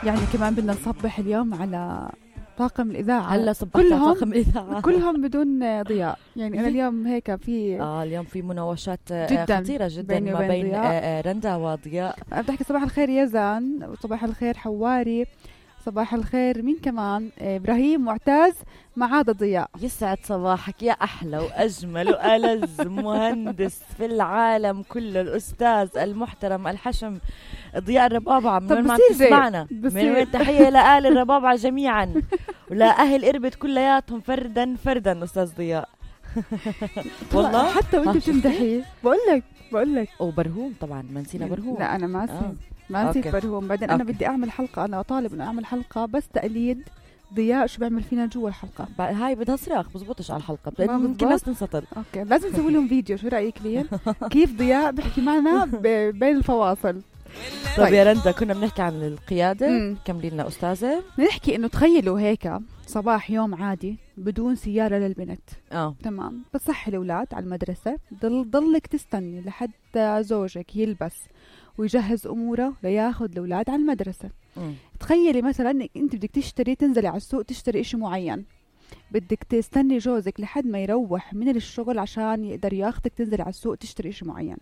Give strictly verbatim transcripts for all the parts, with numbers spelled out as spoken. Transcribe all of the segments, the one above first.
يعني كمان بدنا نصبح اليوم على طاقم الإذاعة. هلا صبحت على طاقم الإذاعة كلهم بدون ضياء. يعني أنا اليوم هيك في آه اليوم في مناوشات جداً خطيرة جدا بيني ما وبين بين ضياء. رندا وضياء. أنا بدي أحكي صباح الخير يزن، وصباح الخير حواري، صباح الخير مين كمان، إبراهيم، معتز، مع هذا ضياء. يسعد صباحك يا أحلى وأجمل وألذ مهندس في العالم كله، الأستاذ المحترم الحشم ضياء الربابعة. من وين ما تسمعنا، من وين تحية لأهل الربابعة جميعا ولا أهل إربد كلياتهم فردا فردا أستاذ ضياء. والله حتى وانت بتمدحي بقول لك بقول لك وبرهوم طبعا، ما نسينا برهوم. لا أنا ما نسيت آه. ما نسيت برهوم. بعدين أوكي. أنا بدي أعمل حلقة، أنا طالب إنه أعمل حلقة بس تقليد ضياء شو بيعمل فينا جوا الحلقة. هاي بدها صراخ، بزبطش على الحلقة، ممكن الناس تنسطر. اوكي لازم نسوي لهم فيديو، شو رأيك لين كيف ضياء بيحكي معنا بين الفواصل. طيب يا رندا، كنا بنحكي عن القيادة، كملي لنا أستاذة. نحكي إنه تخيلوا هيك صباح يوم عادي بدون سيارة للبنت. اه تمام، بتصحي الأولاد على المدرسة، ضل ضلك تستني لحتى زوجك يلبس ويجهز أموره لياخد الأولاد على المدرسة. م. تخيلي مثلا إنك أنت بدك تشتري، تنزلي على السوق تشتري إشي معين، بدك تستني جوزك لحد ما يروح من الشغل عشان يقدر ياخدك تنزلي على السوق تشتري إشي معين.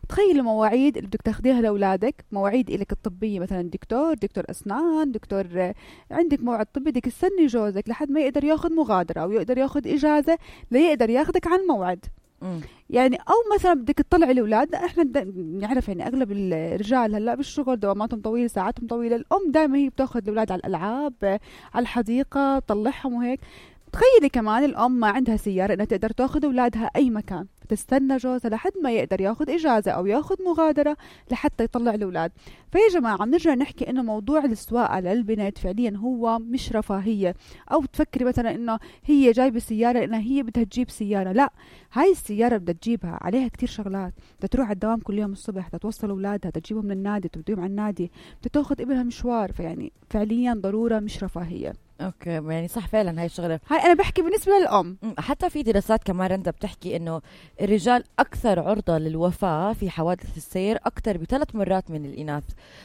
تخيلي مواعيد اللي بدك تاخديها لأولادك، مواعيد إلك الطبية، مثلا دكتور دكتور أسنان، دكتور عندك موعد طبي، بدك تستني جوزك لحد ما يقدر ياخد مغادرة أو يقدر ياخد إجازة ليقدر ياخدك عن موعد. م. يعني او مثلا بدك تطلعي الاولاد، احنا نعرف يعني اغلب الرجال هلا بالشغل دواماتهم طويله، ساعاتهم طويله، الام دائما هي بتاخذ الاولاد على الالعاب، على الحديقه، تطلعهم وهيك. تخيلي كمان الام ما عندها سياره انها تقدر تاخذ اولادها اي مكان، تستنى جوزها لحد ما يقدر ياخذ اجازه او ياخذ مغادره لحتى يطلع الاولاد. فيا جماعه بنرجع نحكي انه موضوع السواقه للبنات فعليا هو مش رفاهيه، او تفكري مثلا انه هي جايبه سياره لانها هي بدها تجيب سياره، لا، هاي السياره بدها تجيبها عليها كتير شغلات، بدها تروح على الدوام كل يوم الصبح، بدها توصل اولادها، بدها تجيبهم من النادي، توديهم على النادي، بدها تاخذ ابنها مشوار، فيعني فعليا ضروره مش رفاهيه. اوكي يعني صح فعلا هاي الشغله. هاي انا بحكي بالنسبه للام. حتى في دراسات كمان رندا بتحكي انه الرجال اكثر عرضه للوفاه في حوادث السير اكثر بثلاث مرات من الاناث.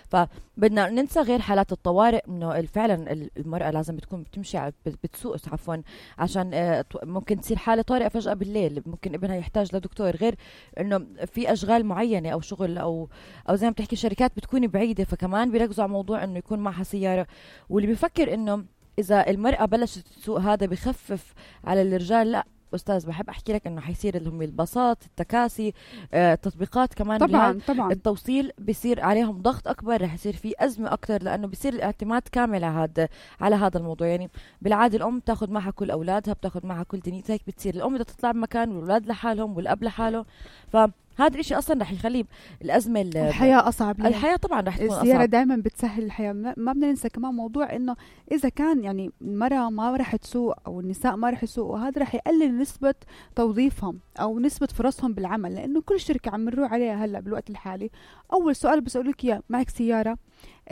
فبدنا ننسى غير حالات الطوارئ، انه فعلا المراه لازم بتكون بتمشي بتسوق عفوا عشان ممكن تصير حاله طارئه فجاه بالليل، ممكن ابنها يحتاج لدكتور، غير انه في اشغال معينه او شغل او او زي ما بتحكي شركات بتكون بعيده، فكمان بيركزوا على موضوع انه يكون معها سياره. واللي بيفكر انه إذا المرأة بلشت تسوق هذا بخفف على الرجال، لا أستاذ، بحب أحكي لك إنه حيصير لهم الباصات، التكاسي، آه، تطبيقات كمان طبعا طبعا التوصيل بيصير عليهم ضغط أكبر، رح يصير في أزمة أكتر، لأنه بيصير الاعتماد كامل على هذا على هذا الموضوع. يعني بالعادة الأم بتاخد معها كل أولادها، بتاخد معها كل دنيتها، هيك بتصير الأم بدها تطلع بمكان والأولاد لحالهم والأب لحاله، ف هذا الشيء اصلا رح يخلي الازمه الحياه اصعب ليه. الحياه طبعا رح تكون السياره اصعب، دائما بتسهل الحياه. ما بدنا ننسى كمان موضوع انه اذا كان يعني المراه ما رح تسوق او النساء ما رح يسوقوا، هذا رح يقلل نسبه توظيفهم او نسبه فرصهم بالعمل، لانه كل شركه عم نروح عليها هلا بالوقت الحالي اول سؤال بسالوك اياه، معك سياره؟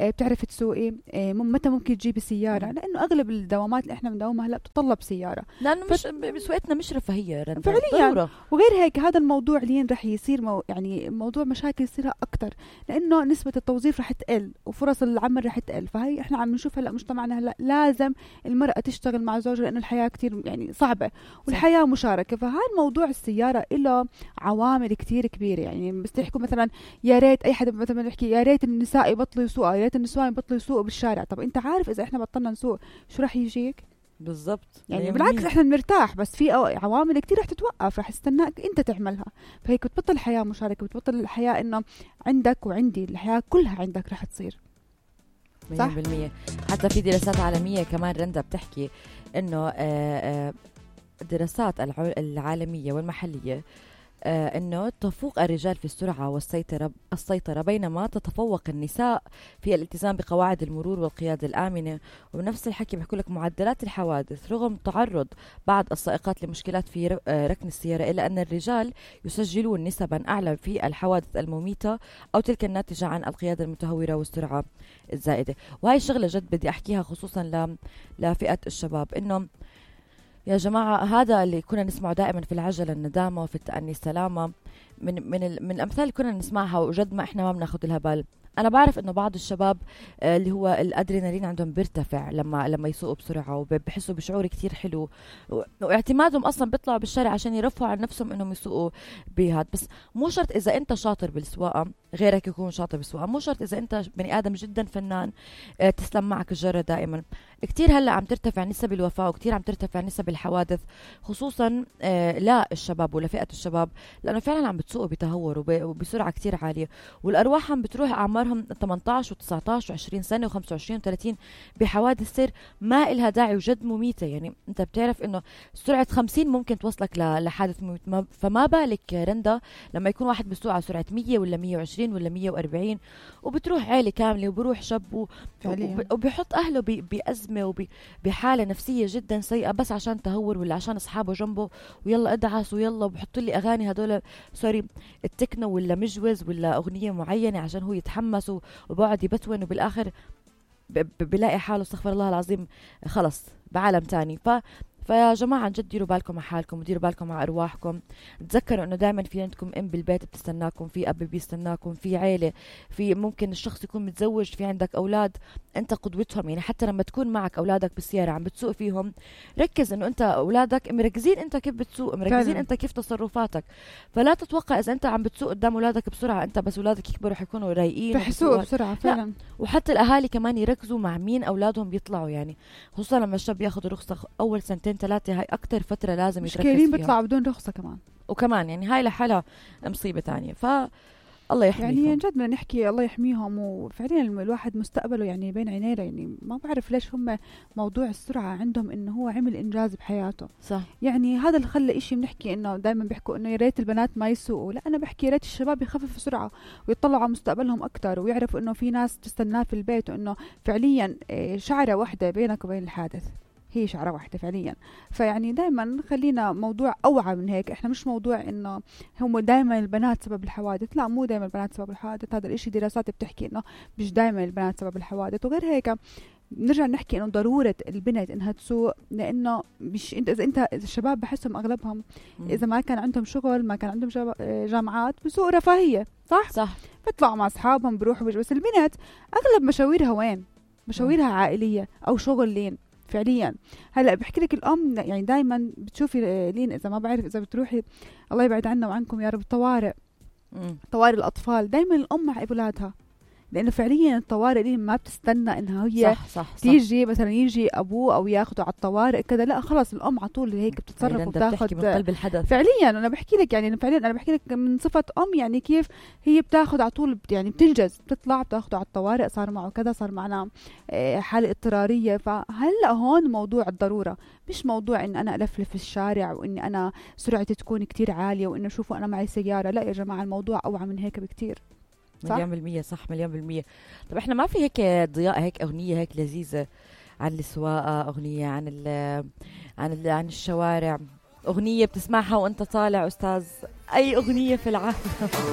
بتعرفي تسوقي؟ متى ممكن تجيبي سياره؟ لانه اغلب الدوامات اللي احنا بنداومها هلا بتطلب سياره، لانه مش بسوقتنا مش رفاهيه فعليا ضرورة. وغير هيك هذا الموضوع لين رح يصير مو يعني موضوع مشاكل يصيرها اكثر، لانه نسبه التوظيف رح تقل وفرص العمل رح تقل. فهي احنا عم نشوف هلا مجتمعنا هلا لازم المراه تشتغل مع زوجها، لانه الحياه كتير يعني صعبه والحياه صح. مشاركه. فهاي الموضوع السياره له عوامل كتير كبيره. يعني بس تحكوا مثلا يا ريت اي حدا مثلا يحكي يا ريت النساء يبطلوا يسوقوا، يا ريت النسوان يبطلوا يسوقوا بالشارع. طب انت عارف اذا احنا بطلنا نسوق شو رح يجيك؟ بالضبط. يعني بالعكس احنا بنرتاح، بس في عوامل كتير رح تتوقف، رح تستناك انت تعملها. فهيك بتبطل الحياه مشاركه، بتبطل الحياه انه عندك وعندي، الحياه كلها عندك رح تصير صح مية بالمية. حتى في دراسات عالميه كمان رندا بتحكي انه الدراسات العالميه والمحليه آه أنه تفوق الرجال في السرعة والسيطرة السيطرة بينما تتفوق النساء في الالتزام بقواعد المرور والقيادة الآمنة. وبنفس الحكي بيحكوا لك معدلات الحوادث رغم تعرض بعض السائقات لمشكلات في ركن السيارة، إلا أن الرجال يسجلون نسبا أعلى في الحوادث المميتة أو تلك الناتجة عن القيادة المتهورة والسرعة الزائدة. وهي الشغلة جد بدي أحكيها خصوصا لفئة الشباب، إنه يا جماعة هذا اللي كنا نسمعه دائما في العجلة الندامة وفي التأني السلامة، من من من الأمثال اللي كنا نسمعها وجد ما إحنا ما بناخد لها بال. انا بعرف انه بعض الشباب آه، اللي هو الادرينالين عندهم بيرتفع لما لما يسوقوا بسرعه وبحسوا بشعور كتير حلو، و- واعتمادهم اصلا بيطلعوا بالشارع عشان يرفعوا عن نفسهم انهم يسوقوا بهاد. بس مو شرط اذا انت شاطر بالسواقه غيرك يكون شاطر بالسواقه، مو شرط اذا انت بني ادم جدا فنان آه، تسلم معك الجره دائما. كتير هلا عم ترتفع نسب الوفاه وكتير عم ترتفع نسب الحوادث، خصوصا آه، لا الشباب ولا فئه الشباب، لانه فعلا عم بتسوقوا بتهور وب- وبسرعه كتير عاليه، والارواح عم بتروح اعمارهم ثمانية عشر و19 و20 سنه و25 و30 بحوادث سير ما إلها داعي وجد مميته. يعني انت بتعرف انه سرعه خمسين ممكن توصلك ل- لحادث مميت، ما- فما بالك رندا لما يكون واحد بيسوق على سرعه مية ولا مية وعشرين ولا مية وأربعين وبتروح عيله كامله وبروح شاب و- فعلياً. وب- وبيحط اهله ب- بازمه وبحاله نفسيه جدا سيئه بس عشان تهور ولا عشان اصحابه جنبه ويلا ادعس ويلا وبحط لي اغاني هدول سوري التكنو ولا مجوز ولا اغنيه معينه عشان هو يتحمس و- وبقعد يبتون وبالاخر ب- ب- بلاقي حاله استغفر الله العظيم خلص بعالم تاني. ف فيا جماعة عن جد ديروا بالكم على حالكم وديروا بالكم على أرواحكم. تذكروا إنه دائما في عندكم أم بالبيت بتستناكم، في أب بيستناكم، في عيلة، في ممكن الشخص يكون متزوج، في عندك أولاد أنت قدوتهم. يعني حتى لما تكون معك أولادك بالسيارة عم بتسوق فيهم ركز إنه أنت أولادك مركزين أنت كيف بتسوق، مركزين فعلاً. أنت كيف تصرفاتك. فلا تتوقع إذا أنت عم بتسوق قدام أولادك بسرعة أنت بس أولادك يكبروا حيكونوا رايقين رح يسوقوا وبيسوقوا. بسرعة فعلا. وحتى الاهالي كمان يركزوا مع مين اولادهم بيطلعوا، يعني خصوصا لما الشاب ياخذ رخصه اول سنتين ثلاثه، هاي اكتر فتره لازم يتركز مشكلين فيها. بيطلعوا بدون رخصة كمان. وكمان يعني هاي لحالها مصيبه تانية. ف الله يحميكم. يعني جد بدنا نحكي الله يحميهم، وفعليا الواحد مستقبله يعني بين عينيه. يعني ما بعرف ليش هم موضوع السرعة عندهم انه هو عمل انجاز بحياته. صح. يعني هذا اللي خلى إشي بنحكي انه دائما بيحكوا انه يا ريت البنات ما يسوقوا، لا انا بحكي يا ريت الشباب يخففوا سرعة ويطلعوا على مستقبلهم اكثر ويعرفوا انه في ناس تستناه في البيت، وانه فعليا إيه، شعرة واحدة بينك وبين الحادث هي شعرة واحدة فعليا. فيعني دائما خلينا موضوع أوعى من هيك. احنا مش موضوع انه هم دائما البنات سبب الحوادث، لا مو دائما البنات سبب الحوادث. هذا الاشي دراسات بتحكي انه مش دائما البنات سبب الحوادث. وغير هيك نرجع نحكي انه ضرورة البنت انها تسوق، لانه مش انت اذا انت إذا الشباب بحسهم اغلبهم مم. اذا ما كان عندهم شغل ما كان عندهم جاب- جامعات بسوق رفاهية، صح؟ صح. بيطلعوا مع اصحابهم بروحوا بيجوا. بس البنت اغلب مشاويرها وين؟ مشاويرها عائلية او شغلين فعليا. هلا بحكي لك الام يعني دائما بتشوفي لين اذا ما بعرف اذا بتروحي الله يبعد عنا وعنكم يا رب الطوارئ، مم. طوارئ الاطفال دائما الام مع اولادها، لانه فعليا الطوارئ دي ما بتستنى انها هي صح صح صح. تيجي مثلا يجي ابوه او ياخده على الطوارئ كذا، لا خلص الام على طول هيك بتتصرف أيضاً بدك تحكي من وبتاخذ. قلب الحدث. فعليا انا بحكي لك يعني فعليا انا بحكي لك من صفه ام، يعني كيف هي بتاخذ على طول بت- يعني بتنجز، بتطلع بتاخده على الطوارئ، صار معه كذا، صار معنا آه، حاله اضطراريه. فهلا هون موضوع الضروره، مش موضوع ان انا الفلف في الشارع واني انا سرعتي تكون كتير عاليه وانه شوفوا انا معي سياره. لا يا جماعه الموضوع اوعى من هيك بكتير. صح؟ مليون بالمية صح مليون بالمية. طب احنا ما في هيك ضياء هيك اغنية هيك لذيذة عن السواقة، اغنية عن ال عن ال عن الشوارع، اغنية بتسمعها وانت طالع استاذ، اي اغنية في العالم؟